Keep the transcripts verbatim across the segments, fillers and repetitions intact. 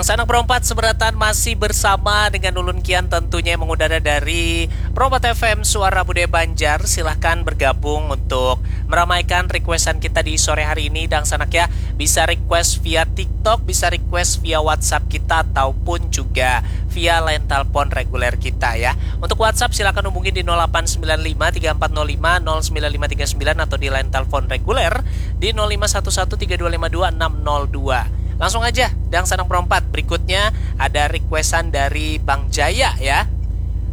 Sanak Perompat Seberatan masih bersama dengan ulun kian tentunya yang mengudara dari Perompat F M Suara Budaya Banjar. Silahkan bergabung untuk meramaikan requestan kita di sore hari ini, dang sanak ya. Bisa request via TikTok, bisa request via WhatsApp kita ataupun juga via line telepon reguler kita ya. Untuk WhatsApp silakan hubungi di nol delapan sembilan lima tiga empat nol lima nol sembilan lima tiga sembilan atau di line telepon reguler di nol lima satu satu tiga dua lima dua enam nol dua. Langsung aja, dang sanak Perompat. Berikutnya ada requestan dari Bang Jaya ya.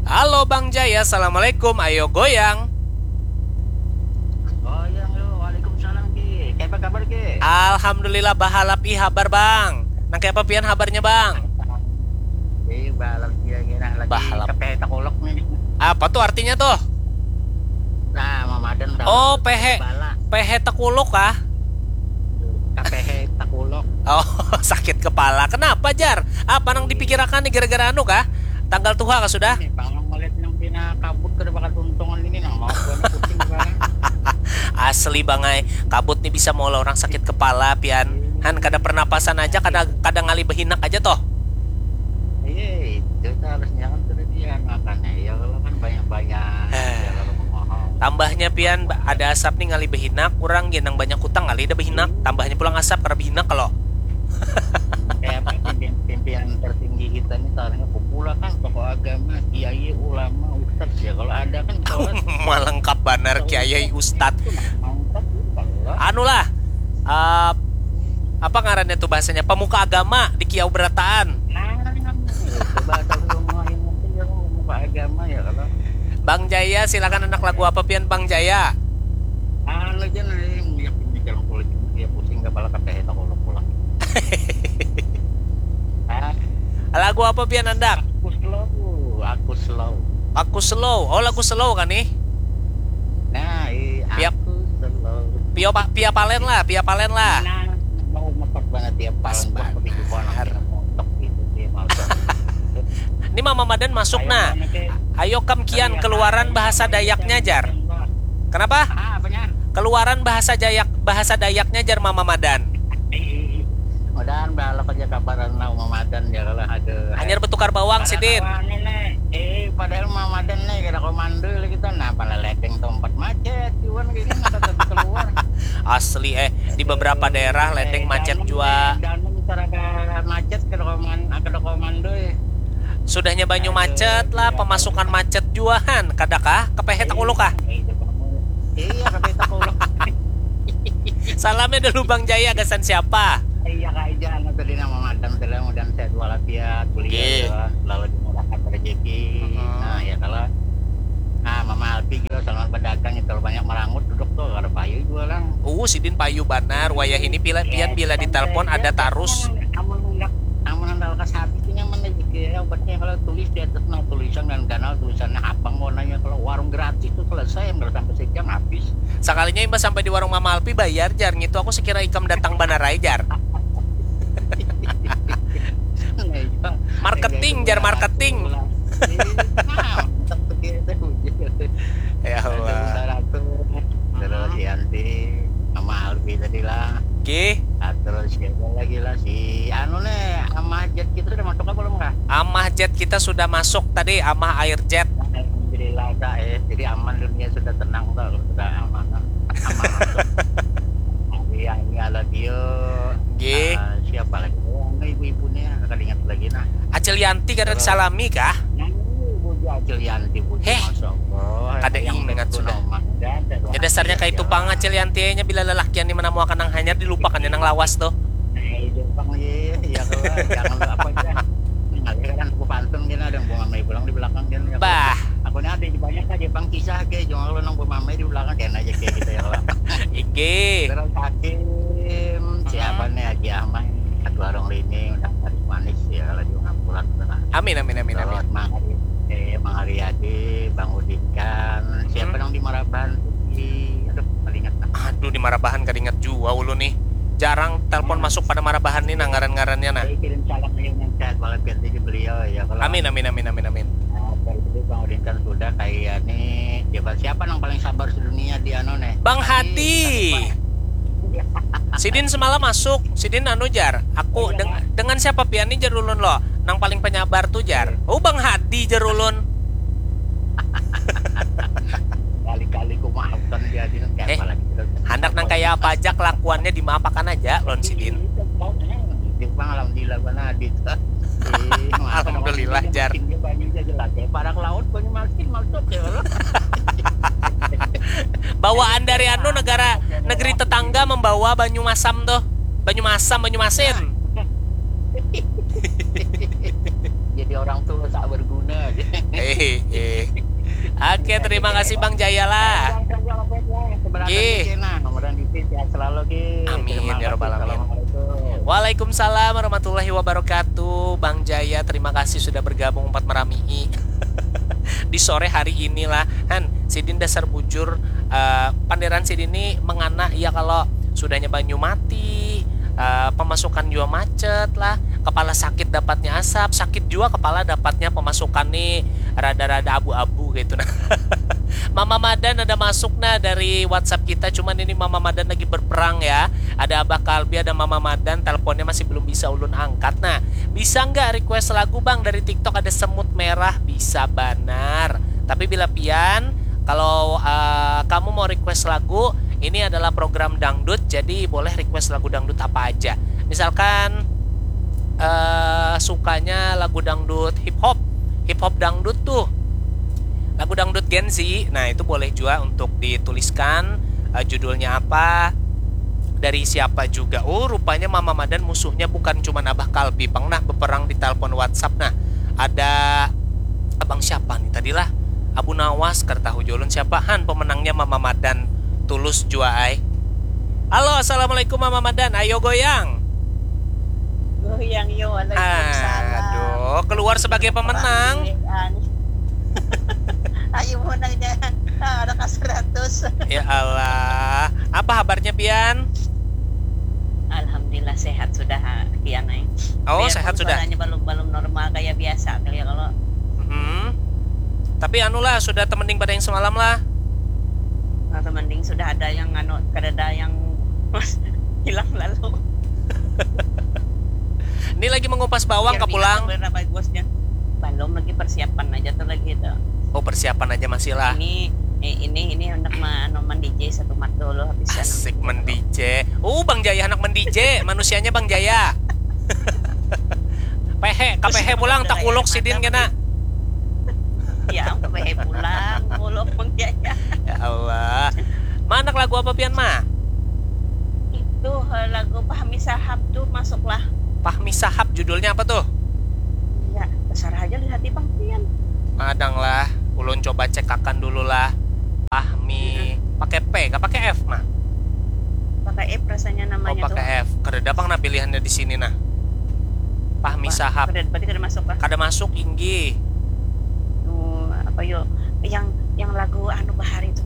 Halo Bang Jaya, assalamualaikum. Ayo goyang. Goyang yuk. Waalaikumsalam Ki. Kaya apa kabar Ki? Alhamdulillah, bahalap i habar Bang. Nang kaya apa pian habarnya Bang? Ih, balap dia gini lagi Bahalap. Kepe takuluk nih. Apa tuh artinya tuh? Nah, mamadan tahu. Oh, pehe. Bala. Pehe takuluk kah? Kepehe takuluk. Oh, sakit kepala. Kenapa Jar? Apa nang dipikirakan nih gara-gara anu kah? Tanggal tuha kah sudah? Ini bang melihat yang pina kabut kada bakat untungan ini nang mau gua pusing kepala. Asli Bang ai, kabut nih bisa maulah orang sakit kepala pian. Han kada pernapasan aja, kada kada ngalih behinak aja toh. Iya, itu tuh harusnya kan sudah dia makannya. Ya kalau kan banyak-banyak. Eh. Ya kalau mau Tambahnya pian ba- ada asap nih ngalih behinak, kurang gin nang banyak hutang ngalih dah behinak. Tambahnya pulang asap kada behinak kalau. Kayak apa pimpinan, pimpinan tertinggi kita nih sekarang kumpul kan tokoh agama, kiai, ulama, ustadz ya kalau ada kan sholat Malengkap banar kiai ustad. Mantap kalau Anu lah, eh, apa ngarannya tuh bahasanya, pemuka agama di Kiau Berataan. Nah, bahasa semua yang mungkin ya pemuka agama ya kalau Bang Jaya, silakan anak lagu apa pian Bang Jaya? Anu aja nih yang lihat di dalam kulit dia pusing kepala kayak tak kolok pulang. Ah, Lagu apa pian andak? Aku slow, aku slow. Aku slow. Oh, lagu slow kan nih? Nah, iya, Piap. Aku slow. Pio pa- pia palen lah, pia palen lah. Nah, mau mepet banget tiap Pas tahun buat banget. Pergi ke Bonang, mau tok gitu sih, mau tok. Ini Mama Madan masuk Ayo, nah. mana, Ki? Ayo kam kian Iya, keluaran Pak. bahasa Iya, Dayaknya Pak. Jar. Kenapa? Ah, apanya? Keluaran bahasa Dayak, bahasa Dayaknya Jar Mama Madan. Ih, ih, ih. Mudahan balok aja kabaran lah Mama Madan ya kalau ada. Hanyar bertukar bawang sidin. Nih, eh padahal Mama Madan nih kada komando lagi kita nah pala ledeng tempat macet cuman kayak gini masa tadi keluar. Asli eh, di beberapa daerah ledeng macet jua. Dan cara macet kada koman, kada komando ya. Sudahnya banyu macet lah, pemasukan macet jua han. Kadakah? Kepehe takuluk kah? Iya, kepehe takuluk. Salamnya dulu Bang Jaya, gasan siapa? Iya kak Ijal, anu tadi nama madam tadi mudah sehat walafiat, kuliah Oke. Ya, selalu dimurahkan rezeki. Mhm. Nah ya kalau nah Mama Alpi juga selamat berdagang itu banyak merangut duduk tuh kada payu juga lah. Uh, sidin payu banar, wayah ini pila pian bila ditelepon ada tarus. Amun hendak amun hendak lekas habis ini nyaman aja ya obatnya kalau tulis di atas nah tulisan dan ganal tulisannya abang mau nanya kalau warung gratis tuh selesai yang sampai sejam habis. Sakalinya imbah sampai di warung Mama Alpi bayar jar ngitu aku sekira ikam datang banar ai jar. Marketing jar marketing. Nah, mantap begitu. Ya Allah. Terus Yanti sama Alfi tadi lah. Oke. Nah, terus siapa lagi lah si anu nih Amah Jet kita udah masuk apa belum kah? Amah Jet kita sudah masuk tadi, Amah Air Jet. Alhamdulillah kak eh jadi aman dunia sudah tenang kak sudah aman aman masuk. Iya ini Aladio. Oke. Ah, siapa lagi? Oh, anu ibu-ibu nih ya, kada ingat lagi nah. Acil Yanti kada disalami kah? Nah, ibu Acil Yanti bu. Heh. Masya Allah. Kada Yang ingat betul sudah. Nama. Ada, ada Ya dasarnya Iya, kayak itu iya. Bang Acil Yanti nya bila lelakian nih menemukan nang hanyar dilupakannya nang lawas tuh. Nah, itu Bang iya, iya kalau jangan lupa apa aja. Nah, kan aku pantun gini ada yang bunga mai pulang di belakang kan. Ya, Bah. Aku nih ada banyak aja Bang kisah kayak jangan lu nang bunga mai di belakang kan aja kayak gitu ya kalau. Ige. Terus Hakim, siapa nih Haji Ahmad? Satu warung lini udah manis manis ya kalau di Ngampura. Amin amin amin amin. Terus Mang Ari, eh, Mang Ariadi, Bang Udikan, siapa yang di Marabahan tuh di, aduh, paling ingat lah. Aduh di Marabahan kada ingat jua ulu nih. Jarang telepon masuk pada Marabahan nih nah ngaran-ngarannya nah. Saya kirim salam yang sehat walafiat di beliau ya. Kalau Amin amin amin amin amin. Nah, kalau itu Bang Udikan sudah kayak nih, siapa siapa yang paling sabar sedunia di anu nih? Bang Hadi. Sidin semalam masuk, sidin anu jar, aku deng- dengan siapa pian ni jar ulun lo, nang paling penyabar tu jar. Oh, Bang Hadi jar ulun. Kali-kali ku maafkan dia di nang Eh, siapa lagi. Handak nang kaya apa aja kelakuannya dimaafakan aja lawan sidin. Itu bang alhamdulillah bana Hadi tu. Eh, Alhamdulillah, jar. Dia banyu aja jelas ya. Parak laut banyu masin maksud ya. Bawaan dari anu negara negeri tetangga membawa banyu masam tuh. Banyu masam, banyu masin. Jadi orang tua tak berguna. Eh, eh. Oke, terima kasih Bang Jaya lah. Gih. Mudah-mudahan sehat selalu Gih. Amin, Terima ya kasih. Rabbal alamin. Assalamualaikum. Waalaikumsalam warahmatullahi wabarakatuh. Bang Jaya, terima kasih sudah bergabung empat meramii di sore hari inilah. Han, sidin dasar bujur, eh, panderan sidin ini mengana ya kalau sudahnya banyu mati, eh, pemasukan juga macet lah, kepala sakit dapatnya asap, sakit juga kepala dapatnya pemasukan nih rada-rada abu-abu gitu nah. Mama Madan ada masuk nah dari WhatsApp kita, cuman ini Mama Madan lagi berperang ya. Ada Abah Kalbi, ada Mama Madan, teleponnya masih belum bisa ulun angkat. Nah, bisa nggak request lagu Bang dari TikTok, ada Semut Merah? Bisa banar. Tapi bila pian, kalau eh, kamu mau request lagu, ini adalah program dangdut, jadi boleh request lagu dangdut apa aja. Misalkan eh sukanya lagu dangdut hip hop, hip hop dangdut tuh, lagu dangdut Gen Z. Nah, itu boleh juga untuk dituliskan eh, judulnya apa, dari siapa juga. Oh, rupanya Mama Madan musuhnya bukan cuma Abah Kalbi pang nah, beperang di telepon WhatsApp. Nah, ada abang siapa nih tadi lah, Abu Nawas, kada tahu jua ulun siapa. Han, pemenangnya Mama Madan, tulus jua ai. Halo, assalamualaikum Mama Madan, ayo goyang. Goyang yo, waalaikumsalam. Aduh, keluar sebagai pemenang. Ayo menang jangan ada ka seratus. Ya Allah, apa kabarnya pian? Alhamdulillah sehat sudah, Kian ai. Oh, Biarpun sehat sudah. Suaranya belum belum normal kayak biasa kali ya kalau. Hmm. Tapi anulah, sudah temending pada yang semalam lah. Nah, temending sudah ada yang anu, kada ada yang hilang lalu. Ini lagi mengupas bawang Biar kah pulang? Berapa bosnya? Belum, lagi persiapan aja tuh lagi itu. Oh, persiapan aja masih lah. Ini eh, ini ini hendak ma- anu, men-D J satu mat dulu habis. Asik men-D J. Oh, Bang Jaya anak men-D J, manusianya Bang Jaya. Pehe, kapehe pulang tak kuluk sidin kena. Ya, pehe pulang, kuluk Bang Jaya. Ya Allah. Manak lagu apa pian, Ma? Itu eh, lagu Fahmi Sahab tuh masuklah. Fahmi Sahab, judulnya apa tuh? Ya, besar aja lihat di Bang Pian. Madang lah, ulun coba cekakan dulu lah. Fahmi, pakai P, gak pakai F, Ma? Pakai F rasanya Oh, namanya tuh. Pakai F. Kada ada pang nah pilihannya di sini nah. Fahmi Wah, Sahab. Kada, berarti kada masuk lah. Kada masuk, inggih. Oh, apa yo? Yang yang lagu anu bahari itu,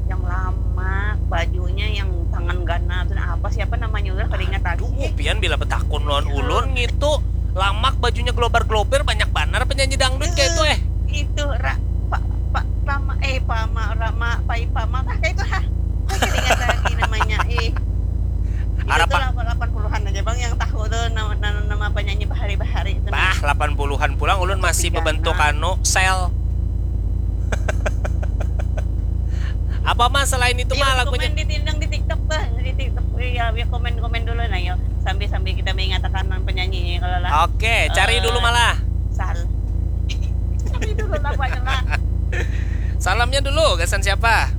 yang lama, bajunya yang tangan ganal tuh, nah, apa, siapa namanya, udah kada ingat lagi. Aduh, pian bila betakun lawan ulun gitu. Lamak, bajunya globar-globir, banyak banar penyanyi dangdut kayak itu eh. Itu ra, pa, pa, pama eh pama rama pai pama tah kayak itu ha. Saya kada ingat lagi namanya. Eh. Itu Arapa? Tuh delapan puluhan aja bang yang tahu tuh nama, nama, nama penyanyi bahari-bahari itu. Bah, delapan puluhan pulang ulun masih Tiga bebentuk enam. Anu sel. Apa mah selain itu mah lagunya? Komen di tindang di TikTok tuh, di TikTok ya, ya komen-komen dulu nah yo. Sambil-sambil kita mengatakan penyanyinya kalau lah. Oke, cari dulu malah. Sal. Cari dulu lah banyak lah. Salamnya dulu, gasan siapa?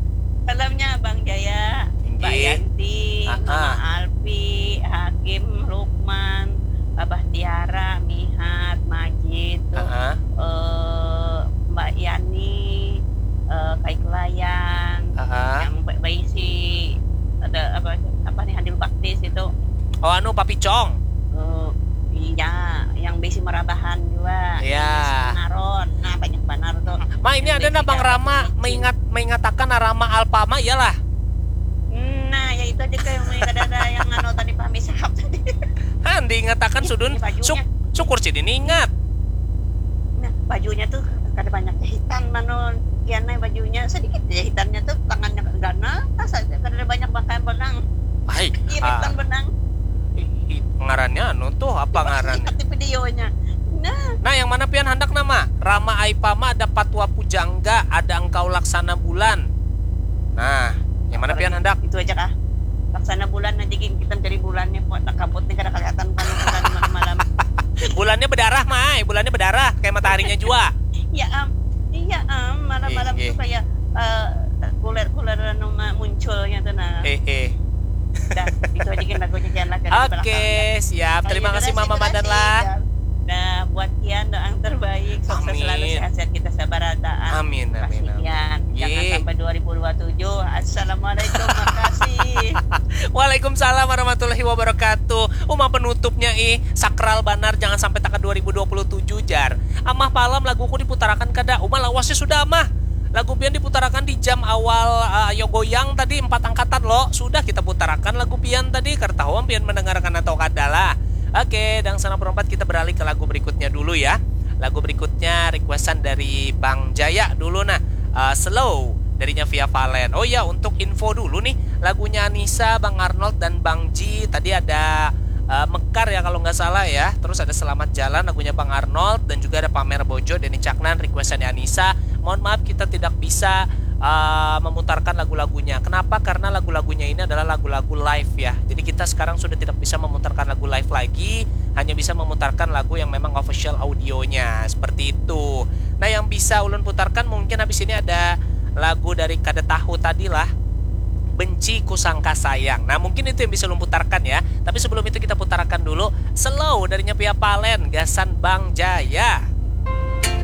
Salamnya Bang Jaya, Mbak Inggih. Yanti, Ah, Mama ah. Alfi, Hakim, Lukman, Abah Tiara, Mihat, Majid, tuh, Ah, ah. eh, Mbak Yani, eh, Kai Kelayan, Ah, ah. yang ba- baisi ada apa apa nih Handil Baktis itu. Oh, anu, Papicong. Eh, iya, yang bisi marabahan juga. Iya. Yang bisi mengaron. Nah, banyak banar tuh. Ma, ini Yang ada nah bisi Bang dapat Rama izin. Mengingat mengatakan Rama Alpama iyalah. Nah, ya itu aja kayak yang kada ada yang anu tadi Fahmi Sahab tadi. Han diingatakan Ih, sudun ini bajunya. Syuk- syukur sih ini ingat. Nah, bajunya tuh kada banyak jahitan manu kian bajunya sedikit jahitannya tuh tangannya ganal asa kada ada banyak pakaian benang. Hai, Iya, Hitam benang. Ih, ngarannya anu tuh, apa ngarannya? Lihat di videonya. Nah, Nah, yang mana pian handak nama? Rama Aipama, ada Patwa Pujangga, ada Engkau Laksana Bulan. Nah, yang mana pian handak? Itu aja kah? Laksana bulan aja gin, kita mencari bulannya, kok tak kabut nih, kada kelihatan kan bulan malam-malam. Bulannya berdarah, Mai. Bulannya berdarah kayak mataharinya jua. Ya am, iya am, malam-malam Iya, tuh iya. Kayak eh, kuler-kuler anu ma- munculnya tuh nah. Eh, eh. Dah, itu aja gin lagunya, jangan lah. Oke, siap. Terima kasih Mama Mandan lah. Nah, buat Kian doa yang terbaik, sukses selalu, Amin. Sehat-sehat kita sabarataan. Amin, amin, Kasih amin. Kian. Jangan Ye. Sampai dua ribu dua tujuh. Assalamualaikum, makasih. Waalaikumsalam warahmatullahi wabarakatuh. Uma penutupnya ih, sakral banar, jangan sampai taka dua ribu dua puluh tujuh jar. Amah, palam laguku diputarakan kada? Uma, lawasnya sudah Amah. Lagu pian diputarakan di jam awal uh, Ayo Goyang tadi, empat angkatan lo. Sudah kita putarakan lagu pian tadi, kada tahu am pian mendengarkan atau kada lah. Oke, Dangsana Perempat, kita beralih ke lagu berikutnya dulu ya. Lagu berikutnya requestan dari Bang Jaya dulu nah. Uh, Slow darinya Via Valen. Oh ya, untuk info dulu nih, lagunya Anissa, Bang Arnold dan Bang Ji tadi ada uh, Mekar ya kalau nggak salah ya. Terus ada Selamat Jalan lagunya Bang Arnold dan juga ada Pamer Bojo, Denny Caknan, requestannya Anissa. Mohon maaf kita tidak bisa uh, memutarkan lagu-lagunya. Kenapa? Karena lagu-lagunya ini adalah lagu-lagu live ya. Jadi kita sekarang sudah tidak bisa memutarkan lagu live lagi, hanya bisa memutarkan lagu yang memang official audionya seperti itu. Nah, yang bisa ulun putarkan mungkin habis ini ada lagu dari Kada Tahu tadi lah, Benci Kusangka Sayang. Nah, mungkin itu yang bisa ulun putarkan ya. Tapi sebelum itu kita putarkan dulu Slow darinya Via Valen, gasan Bang Jaya.